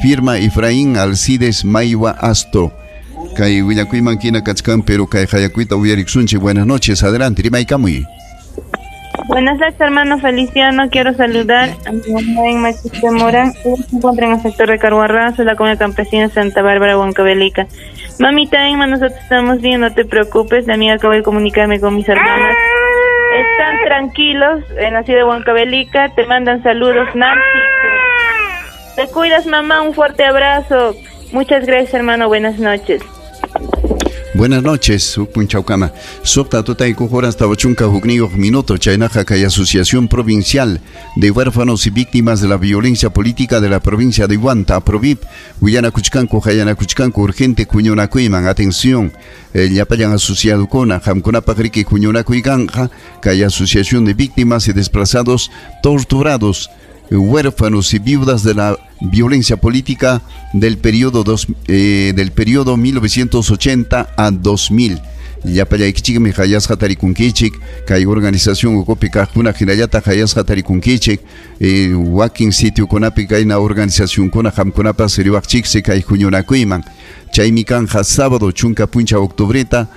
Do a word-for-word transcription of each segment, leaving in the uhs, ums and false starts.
Firma Efraín Alcides Maiwa Asto. Kay willakuyman hina kachkan, pero kay hayakuyta uyariksunchik. Buenas noches, adelante, rimaykamuy. Buenas noches, hermano Feliciano. Quiero saludar a mi mamá en Machiste Morán. Ella se encuentra en el sector de Carhuarrazo, la comunidad campesina Santa Bárbara, Huancavelica. Mamita Emma, nosotros estamos bien, no te preocupes. La amiga acabo de comunicarme con mis hermanas. Están tranquilos en la ciudad de Huancavelica. Te mandan saludos, Nancy. Te cuidas, mamá. Un fuerte abrazo. Muchas gracias, hermano. Buenas noches. Buenas noches, Punchaucama. Suqta tutaykuq horas tawa chunka hukniyuq minuto, chaynaqa kay Asociación Provincial de Huérfanos y Víctimas de la Violencia Política de la Provincia de Huanta, APROVIP, willanakuchkanku, hayanakuchkanku, urgente huñunakuyman, atención, eh, llapallan asociadukuna, qamkunapaq riki huñunakuykanqa, kay Asociación de Víctimas y Desplazados Torturados, huérfanos y viudas de la violencia política del periodo dos, eh, del periodo mil novecientos ochenta a dos mil. Llapallaykichikmi hayasqa tarikunkichik, kay organización ukupi kaqkuna hinallataq hayasqa tarikunkichik, eh, wakin sitiokunapi kayna organizacionkuna qamkunapas riwaqchiksi kay huñunakuyman. Chaymi kanja sábado chunka puncha octubreta,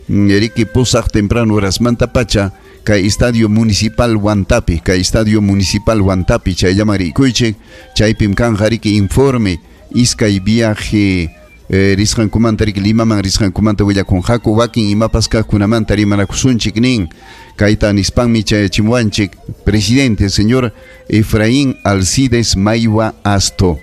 riki pusaq temprano horasmanta pacha, kay Estadio Municipal Huantapi, kay Estadio Municipal Huantapi, chayllaman rikuychik, chaypim kanja riki informe, iskay viaje, eh, risqankumanta riki Limaman risqankumanta willakunqaku, wakin imapas kaqkunamanta rimanakusunchik nin, kayta nispanmi chayachimuwanchik, presidente señor Efraín Alcides Maiwa Asto.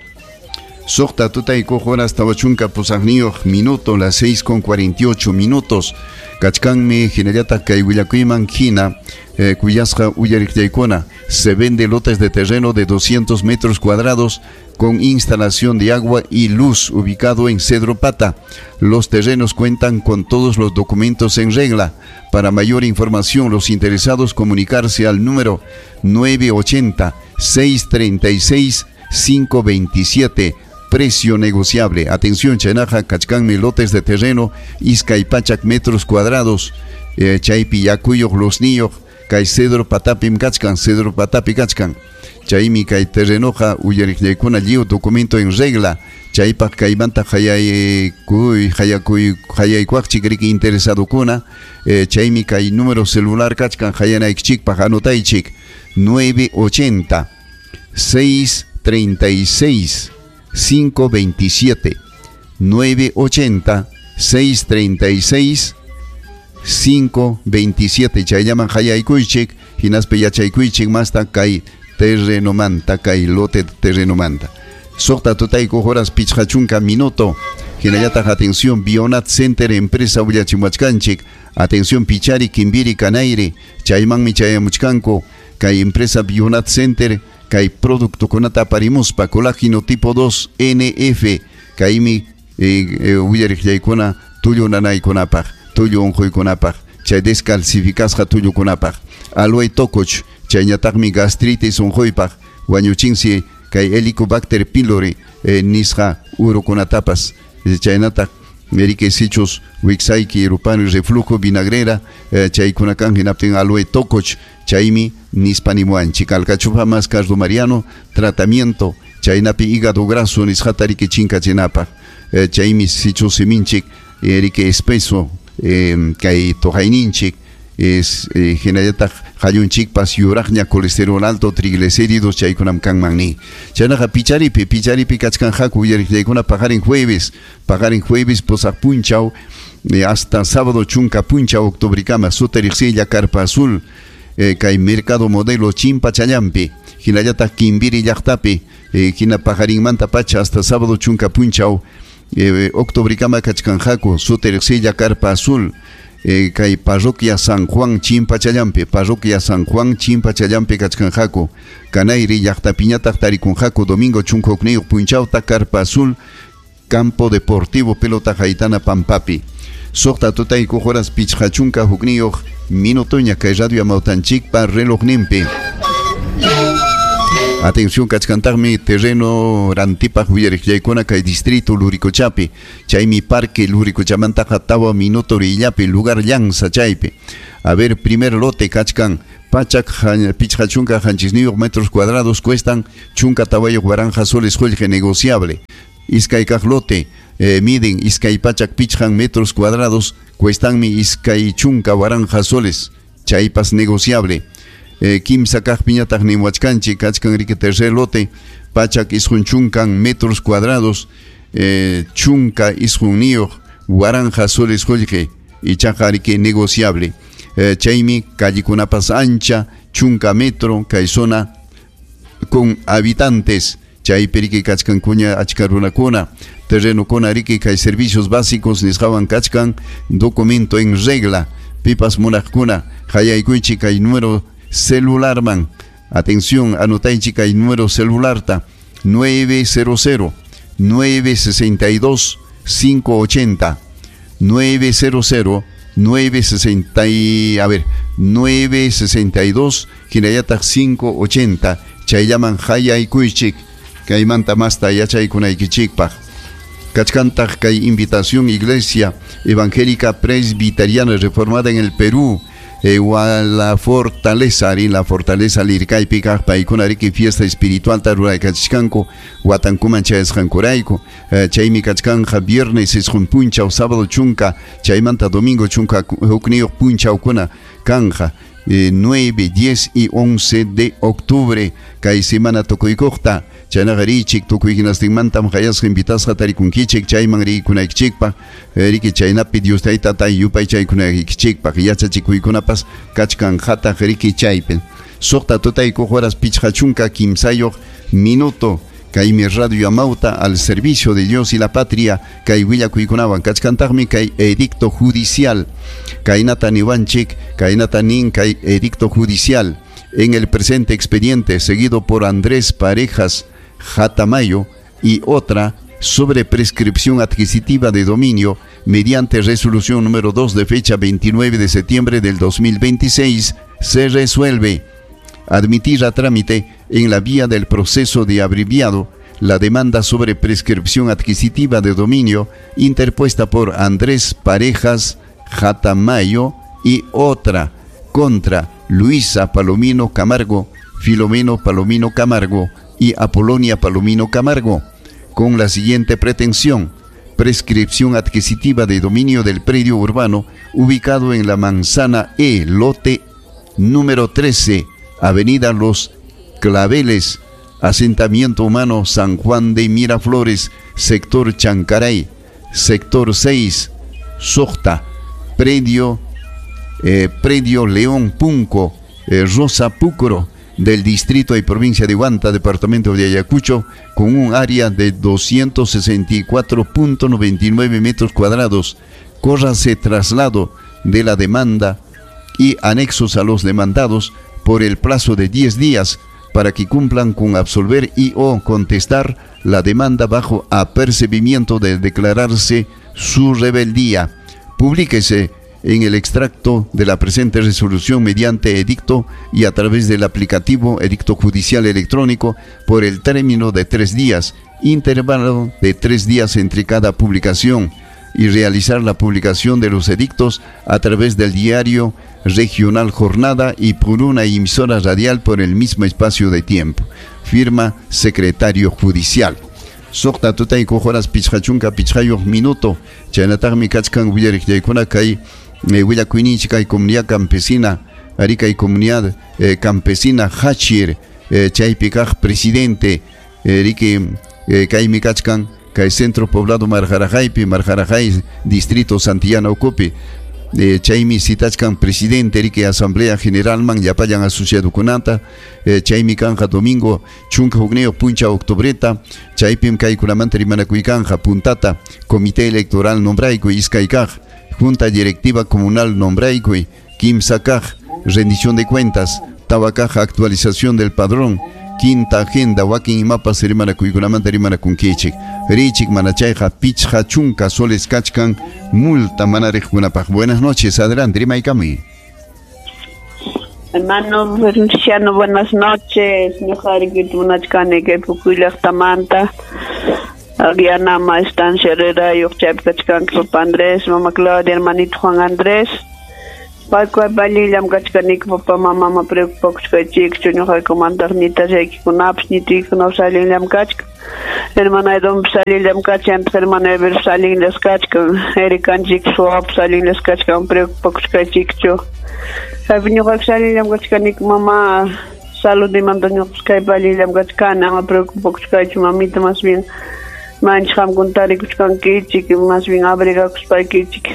Suqta tutaykuq horas tawa chunka pusaqniyuq minuto, las seis con cuarenta y ocho minutos. Kachkanmi hinallataq kay willakuyman hina, eh, kuyasqa uyariqllaykuna. Se vende lotes de terreno de doscientos metros cuadrados con instalación de agua y luz, ubicado en Cedro Pata. Los terrenos cuentan con todos los documentos en regla. Para mayor información, los interesados comunicarse al número nueve ochenta, seis treinta y seis, cinco veintisiete. Precio negociable. Atención, chaynaqa kachkanmi lotes de terreno, iskay pachak metros cuadrados, eh, chaypi yakuyuq, losniyuq, kay Cedro Patapim kachkan, Cedro Patapi kachkan. Chaymi kay terrenoqa uyariqllaykuna lliw documento en regla. Chaypaq kaymanta hayaykuy, hayakuy, hayaykuaqchik riki interesadukuna, eh, chaymi kay número celular kachkan hayanaykichikpaq anotaychik nueve ochenta, seis treinta y seis, cinco veintisiete, nueve ochenta, seis treinta y seis, cinco veintisiete. Chayllaman hayaykuychik, hinaspa yachaykuychik masta kay terrenomanta, kay lote terrenomanta. Suqta tutaykuq horas pichqa chunka minuto. Hinallataq atención, Bionat Center empresa willachimuachkanchik. Atención, Pichari, Kimbiri, Canayri. Chaymanmi chayamuchkanku. Kay empresa Bionat Center, kay productokunata aparimuspa, colágeno tipo dos N F, kaymi, eh, eh, willariqllaykuna tullu nanaykunapaq, tullu unquykunapaq, chay descalcificasqa tullukunapaq. Aloe tokoch, chayñataqmi gastritis unquypaq, wañuchinsi kay Helicobacter pylori, eh, nisqa urukunatapas, chaynataq Erike sichus wiksayki rupani reflujo vinagrera, eh, chaykunakan hinaptin aloe tokoch, chaymi nispanimuanchik. Alcachofa más cardo mariano, tratamiento, chaynapi hígado graso nisqata riki chinkachinapaq, eh, chaymi sichus siminchik, erike espeso, eh, kay toqayninchik, es, eh, hinallataq hallunchikpas yuraqña colesterol alto, triglicéridos chaykunam kanman ni. Chaynaqa picharipi, picharipi kachkanqaku uyariqllaykuna paqarin jueves, paqarin jueves pusaq punchaw, eh, hasta sábado chunka punchaw octubrikama, suteriqsilla Carpa Azul, eh, kay Mercado Modelo Chimpachallampi, hinallataq Kimbiri llaqtapi, eh, hina paqarinmanta pacha hasta sábado chunka punchaw, eh, octubrikama kachkanqaku suteriqsilla Carpa Azul, eh, kay parroquia San Juan Chimpachallampi, parroquia San Juan Chimpachallampi kachkanqaku, Canayri llaqtapiñataq tarikunqaku domingo chunka hukniyuq punchawta Carpa Azul, Campo Deportivo Pelota Haitana Pampapi. Suqta tutaykuq horas pichqa chunka hukniyuq minutoña kay radio Amautanchikpa relojninpi. Atención, kachkantaqmi terreno rantipaq willariqllaykuna kay distrito Luricochapi, chaymi parque Luricochamantaqa tawa minuto rillapi, lugar llanza chaypi. A ver, primer lote kachkan Pachak pichqa chunka qanchisniyuq metros cuadrados cuestan chunka tawayuq waranqa soles qullqi negociable. Iskay kaq lote eh, miden iskay pachak pichqan metros cuadrados cuestanmi iskay chunka waranqa soles chaypas negociable. Eh, kimsa kaqpiñataq niwachkanchik kachkan riki tercer lote pachak isqun chunkan metros cuadrados eh, chunka isqunniyuq waranqa soles qullqi ichaqa riki negociable. Eh, chaymi callikunapas ancha chunka metro kay zona con habitantes chaypi riki kachkankuña achka runakuna terrenokuna riki kay servicios básicos nisqawan kachkan documento en regla pipas munaqkuna hayaykuychik kay número celularman. Atención, anotaychik kay número celularta nueve cero cero, nueve sesenta y dos, cinco ochenta, nueve cero cero, nueve sesenta y, a ver, nueve sesenta y dos, hinallataq cinco ochenta, chayllaman hayaykuychik kaymanta masta yachaykunaykichikpaq. Kachkantaq kay invitación Iglesia Evangélica Presbiteriana Reformada en el Perú, eh, la Fortaleza, ari la Fortaleza lirkaypi kaq paykuna riki fiesta espiritual ta ruraykachishkanku watankuman chayasqankurayku. Eh, chaymi kachkanja viernes isqun punchaw, sábado chunka, chaymanta domingo chunka hukniyuq punchawkuna kanja. Eh, nueve, diez y once de octubre kay semana tukuykuqta chaynaqa richik tukuy hinastinmantam hayasqa invitasqa tarikunkichik chayman rikunaykichikpaq eh, riki chaynapi Dios taytata yupaychaykunaykichikpaq yachachikuykunapas kachkanqataq riki chaypi. Suqta tutaykuq horas pichqa chunka kimsayuq minuto kaymi Radio Amauta al servicio de Dios y la patria kay willakuykunawan kachkantaqmi kay edicto judicial kaynata niwanchik kaynata nin kay edicto judicial en el presente expediente seguido por Andrés Parejas Jatamayo y otra sobre prescripción adquisitiva de dominio mediante resolución número dos de fecha veintinueve de septiembre del dos mil veintiséis se resuelve admitir a trámite en la vía del proceso de abreviado la demanda sobre prescripción adquisitiva de dominio interpuesta por Andrés Parejas Jatamayo y otra contra Luisa Palomino Camargo, Filomeno Palomino Camargo y Apolonia Palomino Camargo, con la siguiente pretensión: prescripción adquisitiva de dominio del predio urbano ubicado en la manzana E, lote número trece, Avenida Los Claveles, asentamiento humano San Juan de Miraflores, sector Chancaray, sector seis, Socta, predio, eh, predio León Punco, eh, Rosa Pucro, del distrito y provincia de Huanta, departamento de Ayacucho, con un área de doscientos sesenta y cuatro punto noventa y nueve metros cuadrados. Córrase traslado de la demanda y anexos a los demandados por el plazo de diez días para que cumplan con absolver y o contestar la demanda bajo apercibimiento de declararse su rebeldía. Publíquese en el extracto de la presente resolución mediante edicto y a través del aplicativo Edicto Judicial Electrónico por el término de tres días, intervalo de tres días entre cada publicación, y realizar la publicación de los edictos a través del diario regional Jornada y por una emisora radial por el mismo espacio de tiempo. Firma secretario judicial. Suqta tutaykuq horas pichqa chunka pichqayuq minuto. Chaynataqmi kachkan willariqllaykuna kay willakuyninchik kay comunidad campesina, ari kay comunidad eh, campesina Hachir, eh, chaypi kaq presidente eh, riki eh, kaymi kachkan kay centro poblado Marjarajaypi, Marjarajay distrito Santillana ukupi. Eh, chaymi citachkan presidente riki asamblea general man llapallan asociadokunata. Eh, chaymi kanja domingo chunka hukniyuq puncha octubreta chaypim kaykunamanta rimanakuykanqa puntata comité electoral nombraykuy iskay kaq junta directiva comunal nombraykuy kimsa kaq rendición de cuentas tawa kaq actualización del padrón quinta agenda wakin imapas rimanakuykunamanta rimanakunkichik richik manachayqa pichqa chunka soles kachkan multa manariqkunapaq. Buenas noches, adelante, rimaykamuy. Hermano Feliciano, buenas noches. Ñuqariki munachkani kay Pukuy llaqtamanta. Aguianama estancia Herrera, chaypi kachkanki Papa Andrés, Mama Claudia, hermanito Juan Andrés. Paykunapi allinllam kachkaniku papa mama preocupakuchkaychikchu ñuqaykumantaq ñitallaykikunapas ñituykunapas allinllam kachkan. Hermana Edompas allinllam kachkan, hermana Everpas allinllas kachkan, Erikanchikpas wawapas allinllas kachkan, preocupakuchkaychikchu. Kaypi ñuqaypas allinllam kachkaniku mama, saludimanta ñuqapas kaypi allinllam kachkani, ama preocupakuchkaychu mamita, más bien manchik qamkuna tarikuchkankichik, más bien abrigakuspaykichik.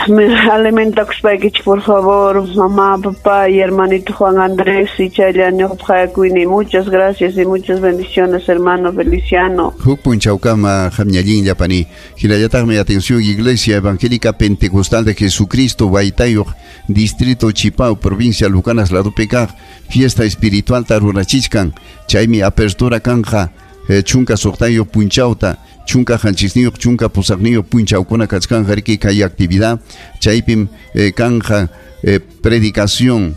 Me alimentakuspaykichik por favor, mamá, papá y hermanito Juan Andrés y chaylla ñuqapaq hayakuyni. Muchas gracias y muchas bendiciones, hermano Feliciano. Huk punchawkama qamñallinlla pani. Hinallataqmi atención Iglesia Evangélica Pentecostal de Jesucristo Waytayuq, Distrito Chipao, provincia Lucanas ladopi kaq, fiesta espiritual rurachichkan. Chaymi apertura kanja eh, chunka suqtayuq punchawta, chunka qanchisniyuq, chunka pusaqniyuq punchawkuna kachkanja riki kay actividad. Chaypim eh, kanja eh, predicación,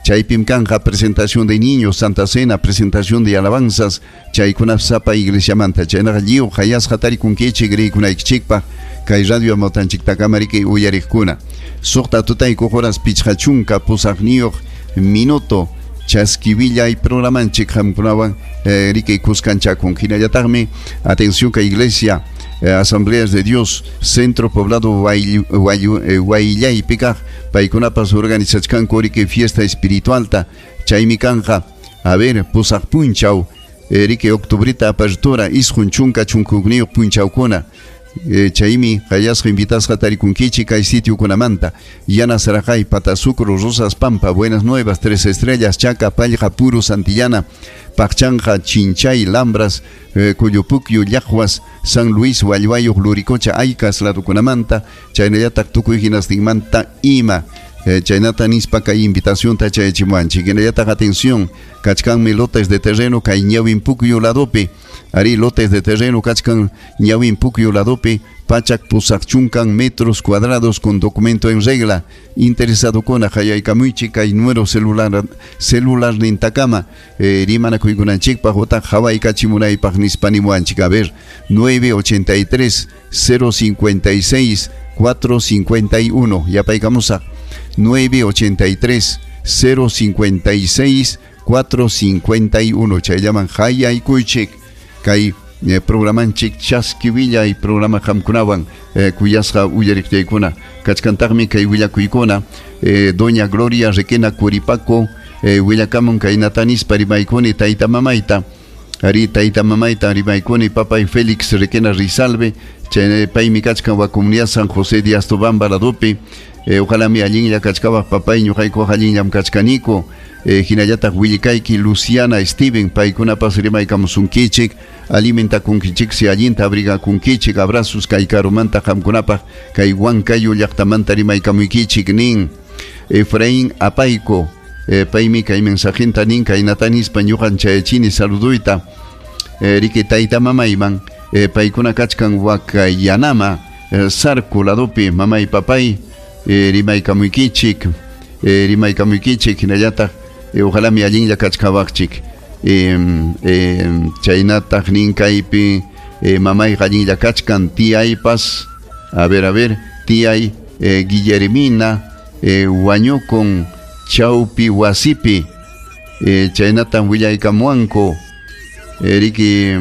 chaypim kanja presentación de niños, Santa Cena, presentación de alabanzas, chaykuna sapa iglesiamanta. Chaynaqa lliw hayasqa tarikunkichik rikunaykichikpaq kay radio amawtanchiktakama riki uyariqkuna. Suqta tutaykuq horas pichqa chunka pusaqniyuq minuto chaskiwillay programanchik qamkunawan eh, riki kuskanchakun. Hinallataqmi atención kay iglesia eh, Asambleas de Dios Centro Poblado Huayllaypi kaq paykunapas organizachkanku riki fiesta espiritualta. Chaymi kanja a ver pusaq punchaw eh, riki octubrita apertura isqun chunka chunka punchawkuna. Eh, chaymi hayasqa invitasqa tarikunkichik kay sitiokunamanta: Yana Sarajay, Patasucro, Rosas Pampa, Buenas Nuevas, Tres Estrellas, Chaca, Pallqa, Puro, Santillana, Paqchanja, Chinchay, Lambras, eh, Cuyupucyu, Llajuas, San Luis, Hualluayuq, Luricocha, Aycas ladokunamanta, chaynallataq tukuy hinastinmanta ima. Eh, chaynata nispa kay invitación ta chayachimuanchik. Hinallataq atención, kachkanmi lotes de terreno kay Ñawinpukyu ladopi. Ari lotes de terreno kachkan Ñawinpukyu ladopi, pachak pusaq chunkan metros cuadrados con documento en regla. Interesado kuna hayaykamuychik kay número celular celular nintakama eh, rimanakuykunanchikpaq utaq hawaykachimunaypaq nispa nimuanchik. A ver, nueve ochenta y tres cero cincuenta y seis cuatro cincuenta y uno. Yapaykamusaq nueve ochenta y tres cero cincuenta y seis cuatro cincuenta y uno. Chayllaman hayaykuychik kay eh, programanchik chaskiwillay programa qamkunawan eh, kuyasqa uyariqtaykuna. Kachkantaqmi kay willakuykuna eh, doña Gloria Requena Curipaco eh, willakamun kaynata nispa rimaykuni tayta mamayta. Ari tayta mamayta rimaykuni papay Félix Requena Rizalve, chay paymi kachkan wa comunidad San José de Astobamba ladopi. Eh, ojalá mi allinlla kachkawaq papay ñuqaykuq allinllam kachkaniku. Eh, hinallataq willikayki Luciana Steven paykunapas rimaykamusunkichik, alimentakunkichik si allinta abrigakunkichik, abrazos kay karumanta qamkunapaq kay Huancayo llaqtamanta rimaykamuykichik nin. Efraín Apayco eh, paymi kay mensajenta nin kaynata nispa ñuqan chayachini saluduyta eh, riki tayta mamayman eh, paykuna kachkan Huacayanama eh, Sarco ladopi mamay papay eh, rimaykamuykichik eh, rimaykamuykichik hinallataq eh, ojalá mi allinlla kachkawaqchik eh, eh, chaynataq nin kaypi eh, mamay allinlla kachkan tiyaypas a ver a ver tiyay eh, Guillermina eh, wañukun chawpi wasipi eh, chaynatan willaykamuanku eh, riki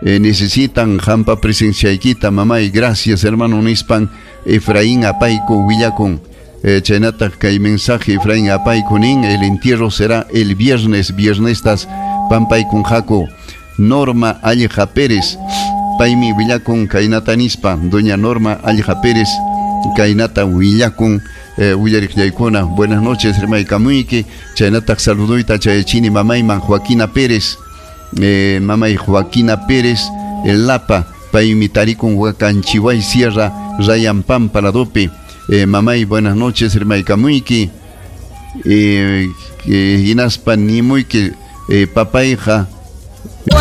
eh, necesitan hampa presenciaykita mamay, gracias hermano nispan Efraín Apayco willakun. Eh, chaynataq kay mensaje Efraín Apayco nin el entierro será el viernes, viernestas pampaykunqaku. Norma Alleja Pérez paymi willakun kaynata nispa, doña Norma Alleja Pérez kaynata willakun eh, willariqllaykuna. Buenas noches rimaykamuyki, chaynataq saluduyta chayachini mamayman Joaquina Pérez eh, mamay Joaquina Pérez el Lapa paymi tarikun Huacanchihuay Sierra Rayampampa ladopi. Eh, mamay buenas noches rimaykamuyki eh, eh, hinaspa nimuyki eh, papayqa